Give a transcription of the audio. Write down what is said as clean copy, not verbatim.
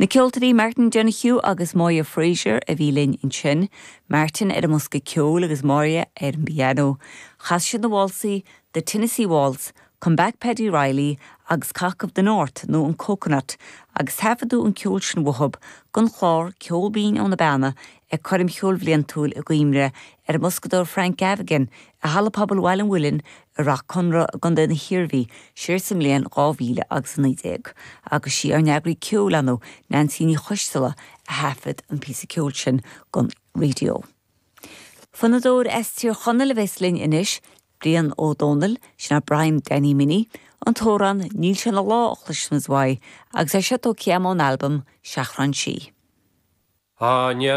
Na ceoltóirí Martin Donoghue agus Moya Fraser a bhí linn ansin, Martin ar an mbosca ceoil agus Moya ar an bpianó. Chas siad na válsaí The Tennessee Waltz, Come Back Paddy Reilly agus Cock of the North nó an Coconut agus taifeadadh an ceol sin uathub don chlár Ceol Binn ó na Beanna ag Coirm Cheoil Bhliantúil i gcuimhne ar an mboscadóir Frank Gaffigan i Halla Pobail Bhaile an Mhuilinn i Rath Conra i gContae na hIarmhí siar sa mbliain 2000 agus 19 agus sí ár n-eagraí ceoil ann, Neansaí Ní Choisteala, a thaifead an píosa ceoil sin don raidió. Fonnadóir as Tír Chonaill a bheas linn anois, Brian Ó Dónaill, sin é Brian Danny Minnie, an t-amhrán Níl sé ina lá a chloisfimid uaidh agus é seo tógtha ón albam Seachrán Sí. Á, ní.